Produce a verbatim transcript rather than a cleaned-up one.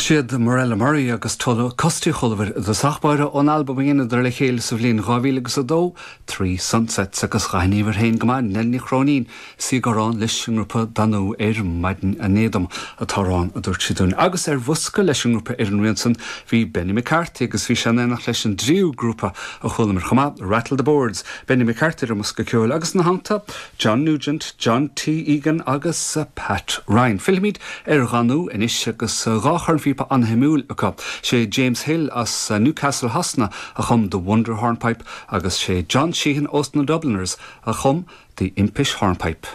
Siad Morella Murray agus Costí Cholbhar de sachbáire ón album a dheineadar le chéile sa bhliain dhá mhíle agus a dó, Three Sunsets agus ghaníomhar féin go maith Nelní Chróinín sí gorán leis an ngrúpa Danú ar maidin an éadom atárán a dúirt siadún. Agus ar bhosca leis an ngrúpa ar an rian san bhí Benny McCarthy agus bhí sé in éineacht leis an dtríú grúpa a chualamar chomh maith, Rattle the Boards, Benny McCarthy ar an mbosca ceoil agus ina theannta John Nugent, John T. Egan agus Pat Ryan. Fillfimid ar Dhanú anois agus dhá chornphíopa an-shuimiúil acu. Sé James Hill as Newcastle Shasana a chum The Wonder Hornpipe agus sé John Sheehan ós na Dubliners a chum The Impish Hornpipe.